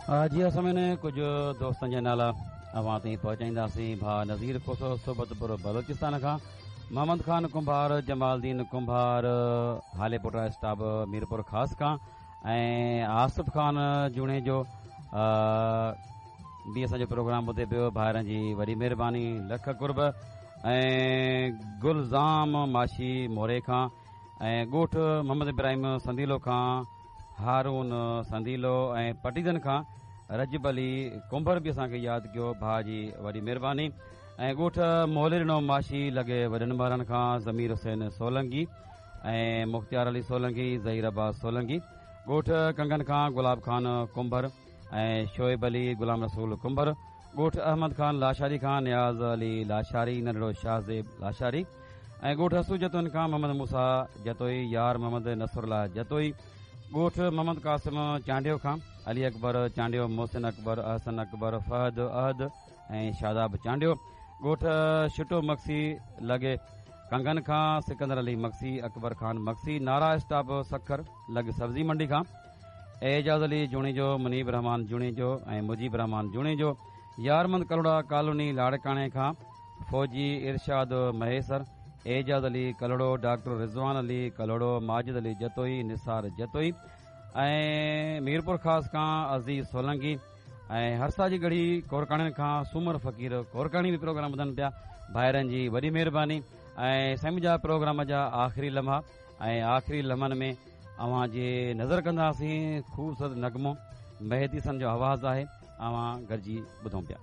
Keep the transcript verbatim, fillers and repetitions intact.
جي اسان ۾ ڪجهه دوستن جا نالا اوهان تائين پهچائينداسين. ڀاء نذير کوسو صحبتپور بلوچستان کان، محمد خان ڪنڀار، جمال دين ڪنڀار هاليپوٽا اسٽاپ ميرپور خاص کان، ۽ آصف خان جوڻيجو به اسان جو پروگرام ٻڌي پيو. ڀائرن جي وڏي مهرباني، لک قرب. ۽ گلزام ماشي موري کان، ۽ ڳوٺ محمد ابراهيم سنديلو کان هارون سنديلو، ۽ پٽيدن کان رجب علي ڪنڀر به اسان کي ياد ڪيو، ڀاء جي وڏي مهرباني. ۽ ڳوٺ موليڏنو ماشي لڳي وڏن ٻارن کان ضمير حسين سولنگي ۽ مختيار علي سولنگي، ظهير عباس سولنگي. ڳوٺ ڪنگن کان گلاب خان ڪنڀر ۽ شعيب علي، غلام رسول ڪنڀر. ڳوٺ احمد خان لاشاري کان نياز علي لاشاري، ننڍڙو شاهزيب لاشاري. ۽ ڳوٺ حسو جتوئن کان محمد موسيٰ جتوئي، يار محمد نصرالله جتوئي. ڳوٺ محمد قاسم چانڊيو کان علي اڪبر چانڊيو، محسن اڪبر، احسن اڪبر، فهد احد ۽ شاداب چانڊيو. ڳوٺ شٽو مگسي لڳي ڪنگن کان سڪندر علي مگسي، اڪبر خان مگسي. نارا اسٽاپ سکر لڳ سبزي منڊي کان اعجاز علي جوڻيجو، منيب رحمان جوڻيجو ۽ مجيب رحمان جوڻيجو. يارمند ڪلهوڙا ڪالوني لاڙڪاڻي کان فوجي ارشاد مهيسر، اعجاز علي ڪلهوڙو، ڊاڪٽر رضوان علي ڪلهوڙو، ماجد علي جتوئي، نثار جتوئي. ۽ ميرپور خاص کان عزيز سولنگي ۽ هرسا جي ڳڙهي ڪورڪاڻين کان سومر فقير ڪورڪاڻي به پروگرام ٻڌن پيا. ڀائرن جي وڏي مهرباني. ۽ سائين جا پروگرام جا آخري لمحا ۽ آخري لمحن ۾ اوهان جي نظر ڪنداسين خوبصورت نغمو، مهدي سن جو آواز آهي، اوهان گڏجي ٻڌون پيا.